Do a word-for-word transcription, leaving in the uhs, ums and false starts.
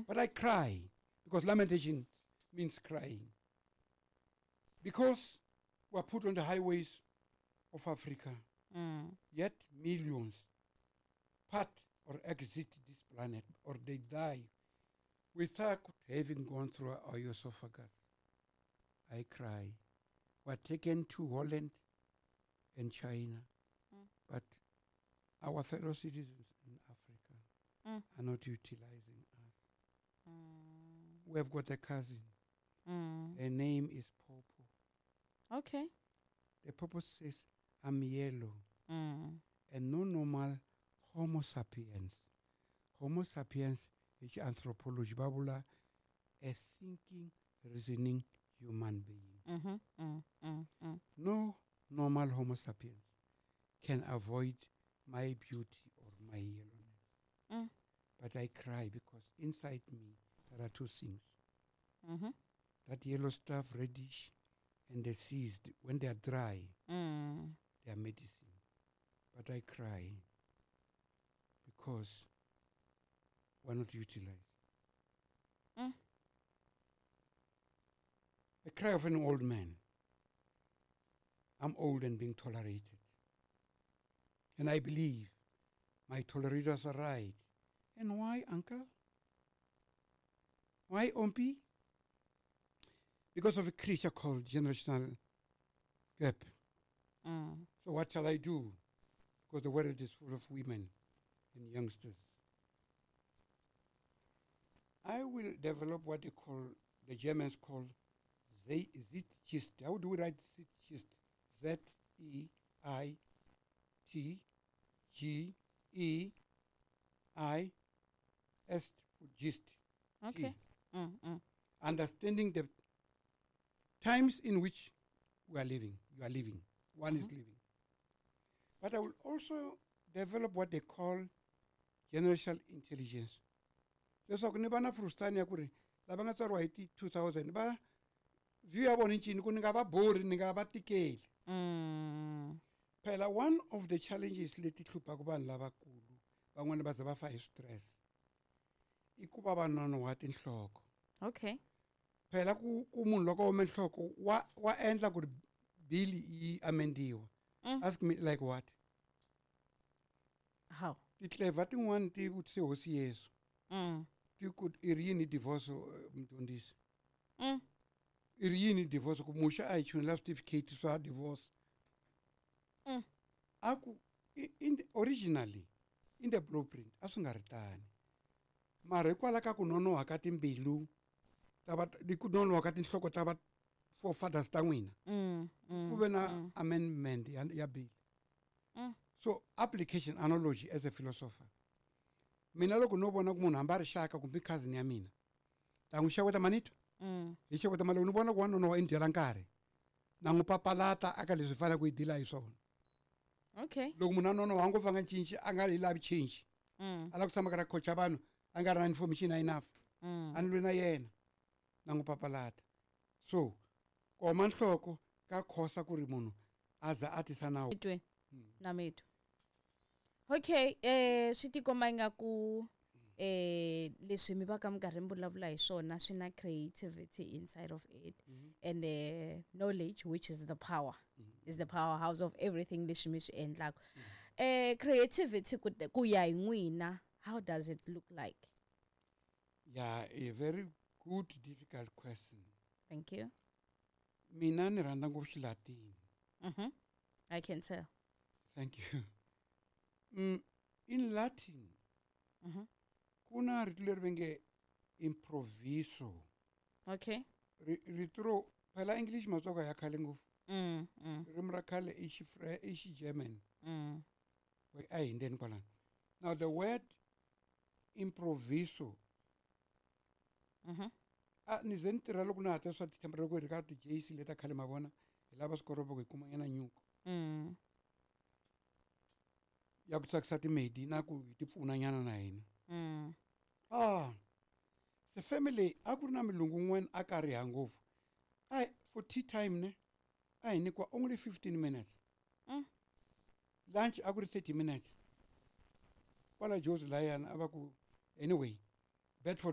But I cry because lamentation means crying. Because we are put on the highways of Africa, Mm. yet millions part or exit this planet or they die without having gone through our esophagus. I cry. We are taken to Holland and China, Mm. but our fellow citizens in Africa Mm. are not utilizing us. Mm. We have got a cousin. Mm. Her name is Popo. Okay. The Popo says, I'm yellow. Mm. And no normal Homo sapiens. Homo sapiens is anthropology. Babula, a thinking, reasoning human being. Mm-hmm. Mm. Mm. Mm. No normal Homo sapiens can avoid my beauty or my yellowness. Mm. But I cry because inside me there are two things. Mm-hmm. That yellow stuff, reddish, and the seeds, when they are dry, Mm. they are medicine. But I cry because we're not utilized. Mm. The cry of an old man. I'm old and being tolerated. And I believe my tolerators are right. And why, uncle? Why, Ompi? Because of a creature called generational gap. Mm. So what shall I do? Because the world is full of women and youngsters. I will develop what they call, the Germans call Zeitgeist. How do we write Zeitgeist? Z E I T G E I S for gist. Okay. T. Mm, mm. Understanding the times in which we are living. You are living. One is Mm-hmm. living. But I will also develop what they call generational intelligence. Leswaku ni va na frustani ya ku ri lava nga tswariwa hi ti two thousand va view ya vona yi ncini ku ni nga va bori ni nga va tikeli. Mm. Phela one of the challenges leti hluphaka vanhu lavakulu van'wani va za va fa hi stress i ku va va nonoha tinhloko. Okay. Phela ku ku munhu loko a ome nhloko wa wa endla ku ri bill yi amendiwa. Mm. Ask me like what? How? Ti-clever tin'wani ti vutise hosi Yesu. Mm. Ti ku i ri yini divorce eh, mudyondzisi? Mm. I ri yini divorce ku Muxe a hi chunela certificate swa divorce. Mm. A ku i- in the, originally in the blueprint a swi nga ri tani. Mara hikwalaho ka ku nonoha ka timbilu ta va ku nonoha ka tinhloko ta va forefathers ta n'wina Mm. Mm. ku ve na amendment ya, ya bill. Mm. So application analogy as a philosopher. Mina loko no vona ku munhu hambi a ri xaka kumbe cousin ya mina ta n'wi xeweta manito Mm. hi xeweta mali ni vona ku wa nonoha i ni dyela nkarhi na n'wi papalata aka leswi hi faneleke ku yi dila hi swona. Okay. Loko munhu a nonoha ngopfu a nga cinci a nga yi lavi change Mm. a lava ku tshama karhi a coacha vanhu a nga ri na information enough Mm. a ni lwi na yena na n'wi papalata. So koma nhloko ka khosa ku ri munhu a za a tisa nawu. Mitweni. Na mitwa. Okay, eh swi tikomba ingaku eh leswi mi va ka mi karhi mi vulavula hi swona swi na creativity inside of it and uh, knowledge which is the power is the powerhouse of everything leswi mi swi endlaka. Eh creativity ku ku ya hi n'wina how does it look like? Yeah, a very good difficult question. Thank you. Mina ni rhandza ngopfu Xilatini. Mhm. I can tell. Thank you. Mm, in Latin, Mhm. ku na rito leri va nge improviso. Okay. Ri- Rito ro phela English matsonga ya khale ngopfu. Mm. Mm. Ririmi ra khale i Xifre- i Xigerman. Mm. A hi hundzeni kwalano. Now the word improviso Mhm. a ni ze ni tirha loko na ha ta swa ti-temporary loko hi ri ka ti-J C leta khale ma vona hi lava swikoropo ku hi kuma nyana nyuku Mm. ya ku tsakisa timedi na ku hi ti pfuna nyana na hina. Mm. Ah, se family a ku ri na mulungu un'wana a kariha ngopfu. A for tea time ne a hi nyikiwa only fifteen minutes. Mm. Lunch a ku ri thirty minutes. Kwala Jozi layana a va ku anyway Bedford